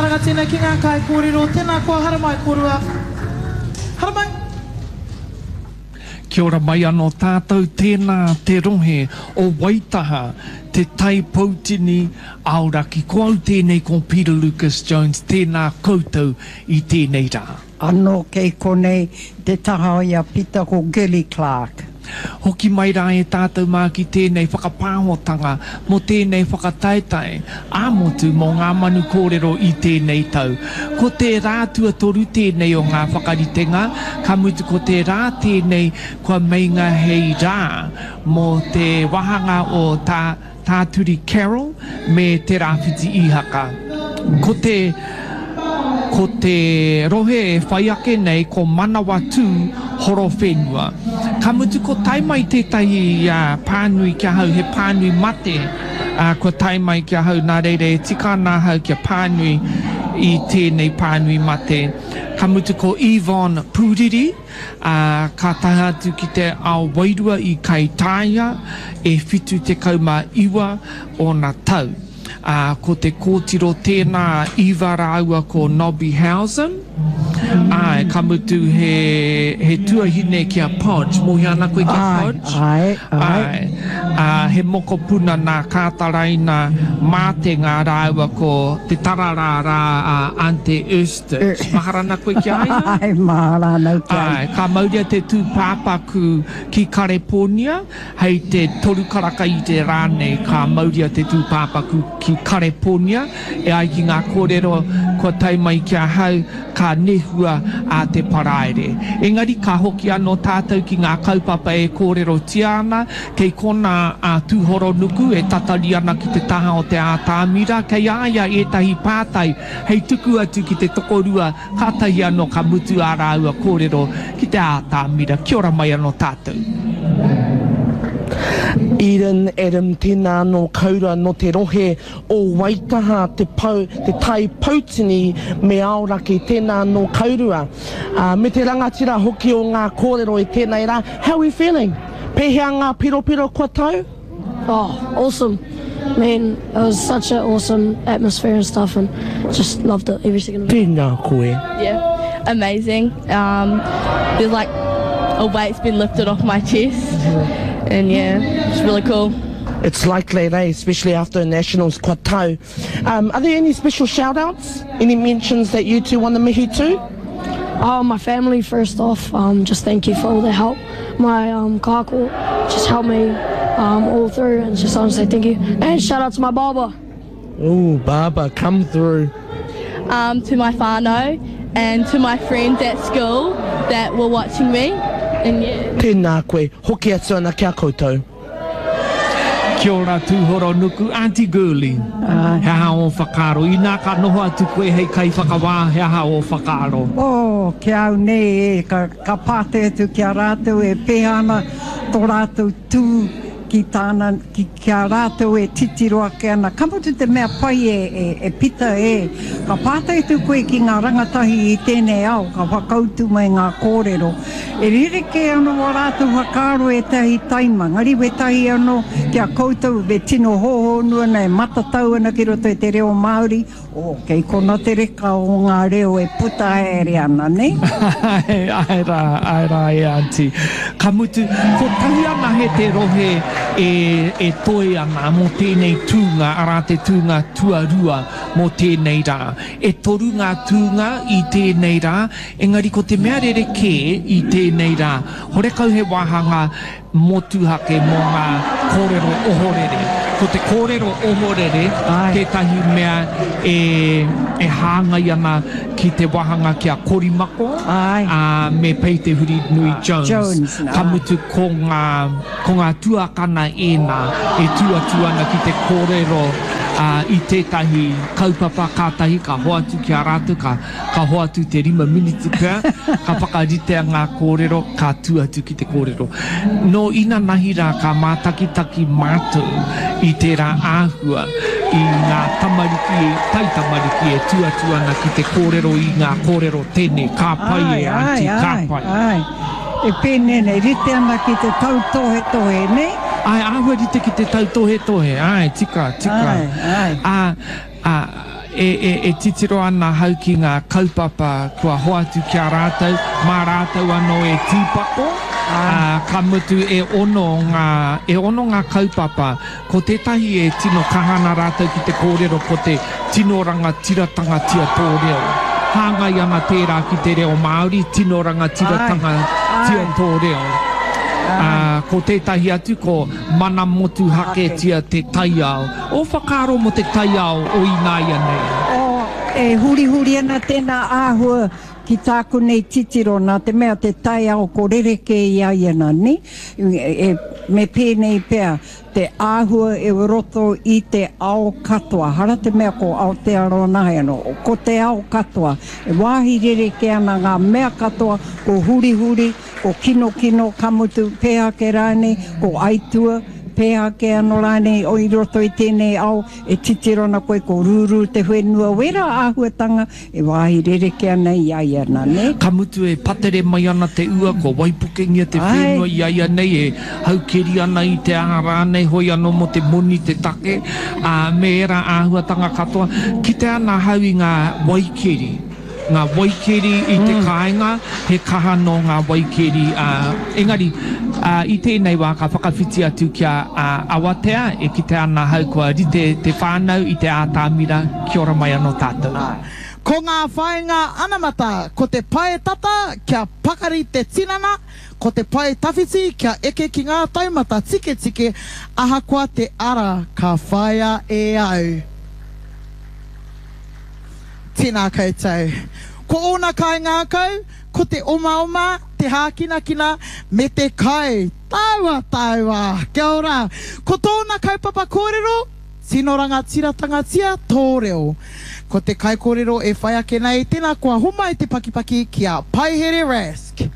Karanga tēnei ki ngā kaikōrero. Tēnā koa, haramai kōrua. Haramai! Kia ora mai anō tātou, tēnā te rohe o Waitaha, Te Tai Poutini, Aoraki. Ko au tēnei ko Peter Lucas Jones, tēnā koutou i tēnei rā. Anō kei konei te taha i a Pita ko Gilly Clarke. Hoki mai rā e tātou mā ki tēnei whakapāhotanga mō tēnei whakataetae ā-motu mō Ngā Manu Kōrero i tēnei tau. Ko te rā tuatoru tēnei o ngā whakaritenga, ka mutu ko te rā tēnei kua meinga hei rā mō te wāhanga o tā Tāturi Carroll me Te Rāwhiti Īhaka. Ko te Ko te rohe e whai ake nei ko Manawatū Horowhenua. Ka mutu ko tae mai tētahi pānui ki ahau, he pānui mate kua tae mai ki ahau nā reira e tika ana ahau kia pānui i tēnei pānui mate. Ka mutu ko Yvonne Pūriri. Ā, ka tae atu ki te ao wairua i Kaitāia, e 79 ōna tau. Ā, ko te kōtiro tēnā a Eva rāua ko Nobby Hausen. Āe, ka mutu he, he tuahine ki a Podge. Mōhio ana koe ki a Podge? Āe, āe, āe. Āe. Ā, he mokopuna nā Kātaraina Mātenga rāua ko Te Tararā rā a Ante Ernst. Mahara ana koe ki a ia? Āe, mahara ana au ki a ia. Āe, ka mauria te tūpāpaku ki Karepōnia, hei te toru karaka i te rā nei ka mauria te tūpāpaku ki Karepōnia, e ai ki ngā kōrero kua tae mai ki ahau, ka nehua a te Paraire. Engari ka hoki anō tātou ki ngā kaupapa e kōrerotia ana, kei konā a Tūhoronuku e tatari ana ki te taha o te ātamira, kei a ia ētahi pātai hei tuku atu ki te tokorua, kātahi anō ka mutu ā rāua kōrero ki te ātamira. Kia ora mai anō tātou. Eden Adam Tēnā anō koura nō te rohe o Waitaha te pou, te tai poutini me Aoraki tēnā anō kourua. Me te rangatira hoki o ngā kōrero i tēnei rā. How we feeling? Pēhea ngā piropiro kua tau? Oh awesome man it was such a awesome atmosphere and stuff and just loved it every second of it. Tēnā koe. Yeah amazing um there's like a weight's been lifted off my chest and yeah it's really cool. It's like that eh, especially after a nationals kua tau. Um are there any special shout outs? Any mentions that you two want to mihi to? Oh my family first off um just thank you for all the help. My um kāko just helped me um all through and just I want to say thank you and shout out to my barber. Ooh barber come through. Um to my whānau and to my friends at school that were watching me and yeah. Tēnā koe, hoki atu ana ki a koutou. Kia ora Tūhoronuku, Aunty Girlie, he aha ō whakaaro? Inā ka noho atu koe hei kaiwhakawā, he aha ō whakaaro? Oh, ki a au nei, e, ka, ka pātai atu ki a rātou e pēhea ana tō rātou tū ki tāna, ki, ki a rātou e titiro ake ana. Ka mutu te mea pai e, e, e Pita, e, ka pātai atu koe ki ngā rangatahi i tēnei ao, ka whakautu mai ngā kōrero. E rerekē anō ā rātou whakaaro ētahi taima, engari wētahi anō ki a koutou e tino hōhonu ana, e matatau ana ki roto i te reo Māori, oh, kei kona te reka o ngā reo e puta haere ana, nē? Āe, āe rā, āe rā e Aunty. Ka mutu, kotahi anahe te rohe e, e toe ana mō tēnei tūnga, arā te tūnga tuarua mō tēnei rā. E toru ngā tūnga i tēnei rā, Engari ko te mea rerekē i tēnei rā, horekau he wāhanga motuhake mō ngā kōrero ohorere. Ko te kōrero ohorere tētahi mea e, e hāngai ana ki te wāhanga ki a Korimako, ā, me Pei Te Hurinui Jones. Ka mutu ko ngā, ko ngā tuakana ēnā e tū atu ana ki te kōrero, ā, i tētahi kaupapa kātahi ka hoatu ki a rātou, ka. Ka hoatu te rima miniti pea, ka whakaritea ngā kōrero, ka tū atu ki te kōrero. Nō inanahi rā ka mātakitaki mātou i tērā āhua i ngā tamariki, taitamariki e tū atu ana ki te kōrero i ngā kōrero tēnei, ka pai e Aunty, ka pai. Āe, āe, e pēnei nei, rite ana ki te tautohetohe, nē? Āe, āhua rite ki te tautohetohe, āe, tika, tika. Āe, āe. Ā, ā. e, e, e titiro ana ahau ki ngā kaupapa kua hoatu ki a rātou, mā rātou anō e tīpako, ā, ka mutu e ono ngā, e ono ngā kaupapa. Ko tētahi e tino kaha ana rātou ki te kōrero ko te tino rangatiratanga-tia tō reo. Hāngai ana tērā ki te reo Māori, tino rangatiratanga-tia tō reo. Ā, ko tētahi atu ko mana motuhaketia te taiao. Ō whakaaro mō te taiao o ināianei? Oh, e hurihuri ana tēnā āhua ki tāku nei titiro, nā te mea te taiao ko rerekē i a ia nā, nē? E, me pēnei pea, te āhua e roto i te ao katoa, hara te mea ko Aotearoa nahe anō, ko te ao katoa, e wāhi rerekē ana ngā mea katoa, ko hurihuri, ko kinokino, ka mutu, pēhea ake rānei, ko aitua, pēhea ake anō rānei i roto i tēnei ao e titiro ana koe ko rūrū te whenua, wērā āhuatanga e wāhi rerekē ana i a ia nā, nē? Ka mutu e patere mai ana te ua, kua waipukengia te whenua i a ia nei e haukeri ana i te aha rānei, hoi anō mō te moni te take, ā, me ērā āhuatanga katoa. Kite ana ahau i ngā waikeri. Ngā waikeri i te kāinga, he kaha nō ngā waikeri, ā, engari, ā, i tēnei wā ka whakawhiti atu kia, ā, Awatea, e kite ana ahau kua rite te whānau i te ātamira, kia ora mai anō tātou. Ko ngā whāinga anamata, ko te pae tata kia pakari te tinana, ko te pae tawhiti kia eke ki ngā taumata tiketike ahakoa te ara ka whāia e au. Tēnā koutou. Ko ōna kaingākau, ko te omaoma, te hākinakina, me te kai. Tāua, tāua! Kia ora! Ko tōna kaupapa kōrero, Tino rangatiratanga-tia tō reo. Ko te kaikōrero e whai ake nei, tēnā koa homai te pakipaki ki a Paihere Rask.